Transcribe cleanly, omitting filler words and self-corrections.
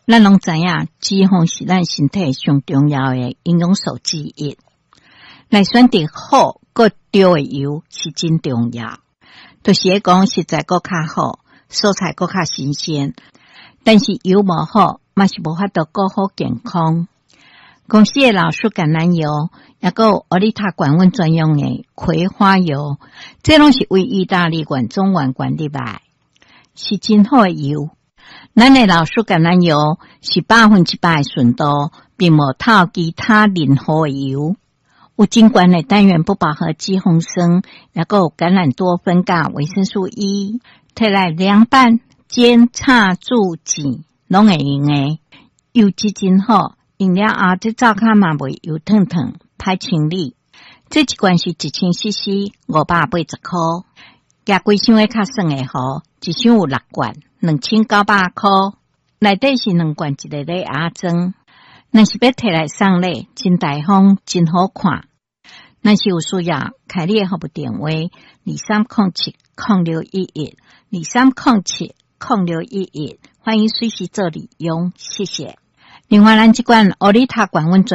咱攏知影，脂肪是咱身體上重要的營養素之一。來選擇好閣對的油是真重要。就是咧講食材閣較好，蔬菜閣較新鮮，但是油無好，嘛是無法度顧好健康。公司的老樹橄欖油，抑閣有奧利塔管阮專用的葵花油，這攏是為意大利原種原罐入來，是真好的油。咱的老樹橄欖油是100%的純度，並無透其他任何的油。有真懸的單元不飽和脂肪酸，抑閣有橄欖多酚佮維生素 E，摕來涼拌、煎、炒、煮、煎，攏會用的。油質真好，用了後這灶跤嘛袂油燙燙，歹清理。這一罐是1000 CC，580箍。舉規箱的較算會好，一箱有六罐，2900箍。內底是兩罐一個禮盒裝。若是欲提來送禮，真大方，真好看。若是有需要，開你的服務電話：23070611，23070611，歡迎隨時做利用，謝謝。另外，咱這罐奧利塔罐阮。